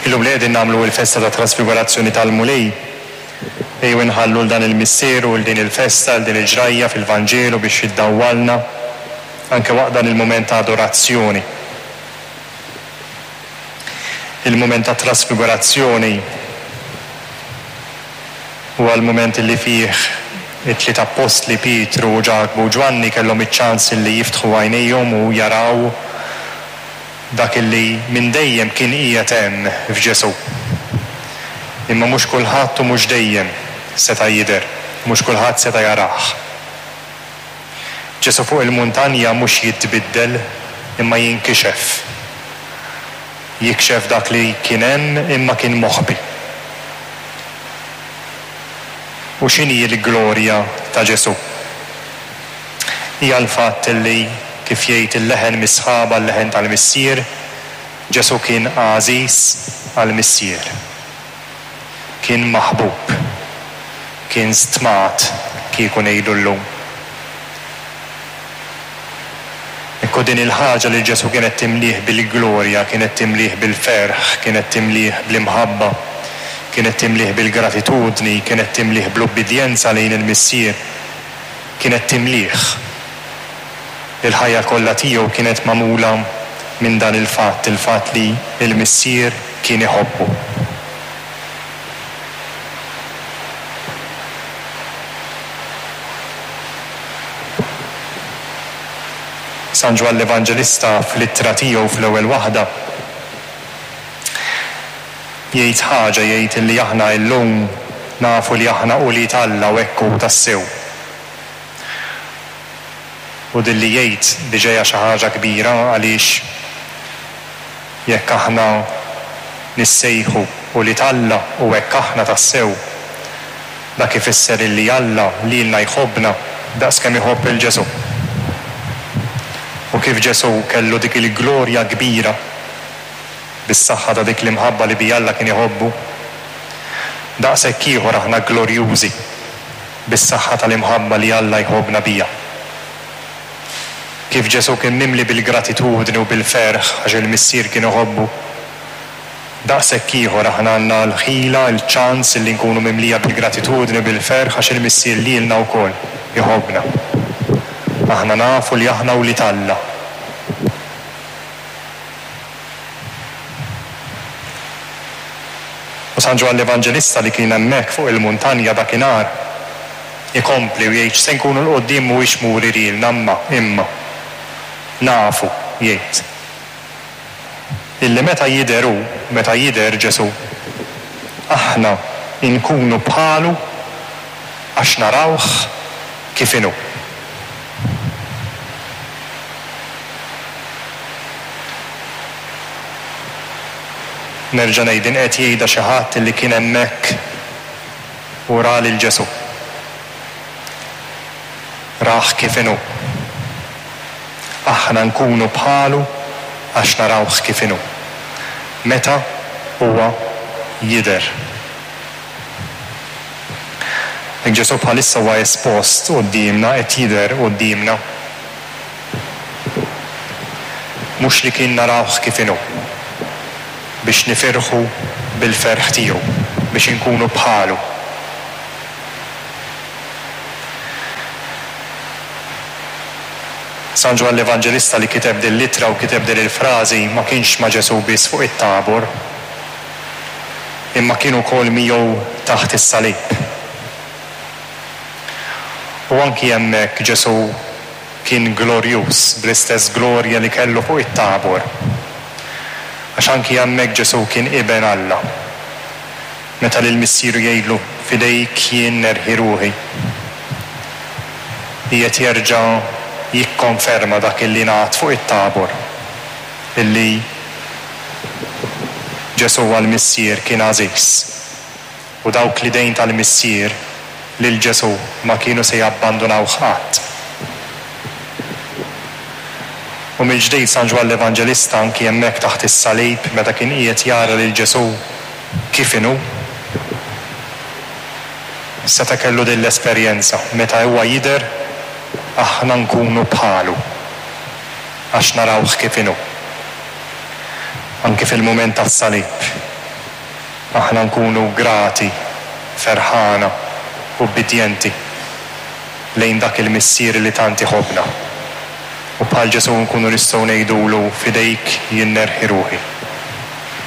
Illum li qegħdin nagħmlu l-festa tat-Trasfigurazzjoni tal-Mulej, ejjew inħallu 'l dan il-misteru, 'l din il-festa, 'l din il-ġrajja fil-Vanġelu biex iddawwalna anke waqt dan il-mument ta' adorazzjoni. Il-mument tat-Trasfigurazzjoni huwa l-mument li fih it-tliet appostli Pietru, Ġakbu u Ġwanni kellhom iċ-ċans li jiftħu għajnejhom u jaraw dak li minn dejjem kien qiegħed hemm f'Ġesù. Imma mhux kulħadd u mhux dejjem seta' jidher, mhux kulħadd seta' jarah. Ġesù fuq il-muntanja mhux jitbiddel imma jinkixef. Jikxef dak li kien hemm imma kien moħbi. U x'inhi l-glorja ta' Ġesù? Hija l-fatt li, kif jgħid il-leħen mis-sħaba, l-leħen tal-Missier, Ġesù kien għażiż għall-Missier. Kien maħbub. Kien stmat, kieku ngħidu llum. Ekku din il-ħaġa li Ġesù kienet timlieh bil-glorja, kienet timlieh bil-ferħ, kienet timlieh bl-imħabba, kienet timlieh bil-gratitudni, kienet timlieh bl-ubbidjenza lejn il-Missier. Kienet timlieh. Il-ħajja kollha tiegħu kienet magħmula minn dan il-fatt, il-fatt li l-Missier kien iħobbu. San Ġwann l-Evanġelista fl-ittra tiegħu fl-ewwel waħda jgħid ħaġa, jgħid li aħna illum nafu li aħna ulied Alla u hekk hu tassew. U din li jgħid diġa hija xi ħaġa kbira għaliex jekk aħna nissejħu ulied Alla u hekk aħna tassew, dak ifisser illi Alla lilna jħobbna daqs kemm iħobb 'il Ġesù. U kif Ġesù kellu dik il-glorja kbira bis-saħħa ta' dik l-imħabba li biha Alla kien iħobbu, daqshekk ieħor aħna glorjużi bis-saħħa tal-imħabba li Alla jħobbna biha. Kif Ġesù kien mimli bil-gratitudni u bil-ferħ għax il-Missier kien iħobbu, daqshekk ieħor aħna għandna l-ħila, il-ċans li nkunu mimlija bil-gratitudni u bil-ferħ għax il-Missier lilna wkoll iħobbna. Aħna nafu li aħna wlied Alla. U San Ġwann l-Evanġelista li kien hemmhekk fuq il-muntanja dakinhar, ikompli u jgħid x'se nkunu 'l quddiem mhuwiex muri lilna imma, imma, nafu, jgħid, illi meta jidher hu, meta jidher Ġesù, aħna nkunu bħalu għax narawh kif inhu. Nerġa' ngħid, din qed jgħidha xi ħadd li kien hemmhekk u ra lil Ġesù. Rah kif inhu. Aħna nkunu bħalu għax narawh kif inhu. Meta huwa jidher. Hekk Ġesù bħalissa huwa espost quddiemna, qed jidher quddiemna. Mhux li kien narawh kif inhu, biex nifirħu bil-ferħ tiegħu, biex inkunu bħalu. San Ġwann l-Evanġelista li kiteb din l-ittra u kiteb din il-frażi ma kienx ma' Ġesù biss fuq it-Tabor. Imma kien ukoll miegħu taħt is-salib. U anki hemmhekk Ġesù kien glorjuż bl-istess glorja li kellu fuq it-Tabor. Għax anki hemmhekk Ġesù kien Iben Alla. Meta lil Missieru jgħidlu, F'idejk jien nerħi ruħi, qiegħed jerġa' jikkonferma dak illi ngħad fuq it-Tabor. Illi Ġesù għall-Missier kien għażiż, u dawk l-idejn tal-Missier lil Ġesù ma kienu se jabbandunawh qatt. U mill-ġdid San Ġwann l-Evanġelista anki hemmhekk taħt is-salib meta kien qiegħed jara lil Ġesù kif inhu, seta' kellu din l-esperjenza, meta huwa jidher aħna nkunu bħalu. Għax narawh kif inhu. Anki fil-mument tas-salib. aħna nkunu grati, ferħana, ubbidjenti lejn dak il-Missier li tant iħobbna. U bħal Ġesù nkunu nistgħu ngħidulu, F'idejk jien nerħi ruħi.